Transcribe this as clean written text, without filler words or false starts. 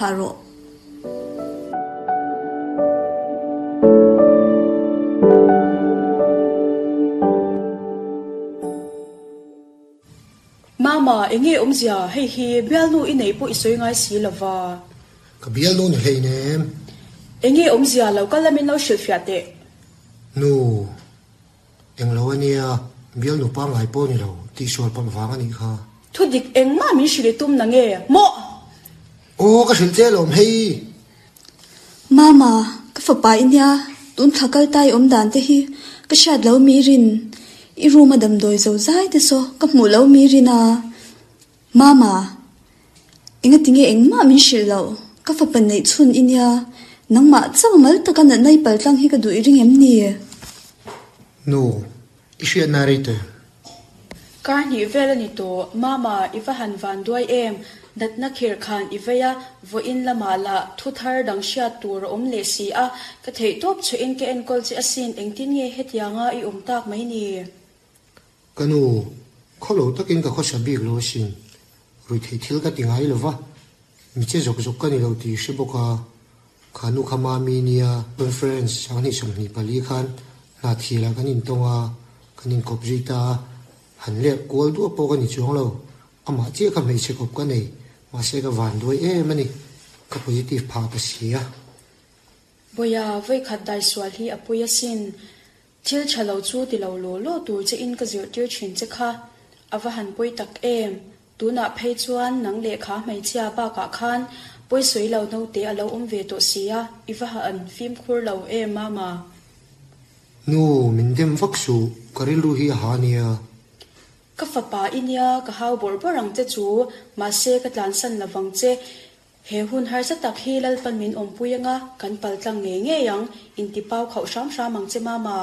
Thlah rawh. Mama, enge awmzia hei hi bialnu i neih pawh i sawi ngai si lo va. Ka bialnu ni hleinem. Enge awmzia lo kal la min lo hrilhfiah teh. Nu, Englo a nia, bialnu pangngai pawh ni lo, tihsual palh vang a nih kha. Thudik engmah min hrilh i tum na nge maw? Aw, ka hrilh che alawm hei. Mama, ka fapa i nia, tun thla kal ta i awm dan te hi ka hriat lo mi rin, i room a damdawi zo zai te saw ka hmuh lo mi rin a. Mama, engatinge engmah min hrilh loh, ka fapa neih chhun i nia, nangmah chauh mal taka natna i paltlang hi ka duh i ring em ni? Nu, i hriatna rei teh. Kar hnih vel a ni tawh, Mama, i va han van duai em? Natna khirh khan i vei a, vawiin lamah lah thu thar dang hriat tur a awm leh si a, ka theihtawp chhuahin ka enkawl che asin, engtin nge hetianga i awm tak mai ni? Ka nu, khaw lo takin ka khawsa bik lo asin, ruihtheih thil ka ti ngai lo va, mi che zawk zawk ka ni lo tih hre bawk a, kha nu kha Mami nia conference sanghnih 24 khan hna thilah kan intawng a, kan inkawp zui ta a, han lek kual duah pawh ka ni chuang lo, amah chiah kha hmeichhe kawp ka nei, mahse ka van duai em a ni, ka positive phah ta si a. Bawiha, vawikhat daisual hi a pui asin, Thil tha lo chu ti lo law law tur che in ka zirhtir thin che kha a va han pawi tak em! Tunah phei chuan nang lehkha hmeichhia bakah khan pawi sawi lo naute a lo awm ve tawh si a, i va han fimkhur lo em Mama? Nu, min dem vak suh, ka rilru hi a ha nia. Ka fapa i nia, ka hau bawrh bawrh ang che chu, mahse ka tlansan lovang che. He hun harsa tak hi Lalpan min awmpui anga kan paltlang ngei ngei ang, intipau khauh hram hram ang che Mama.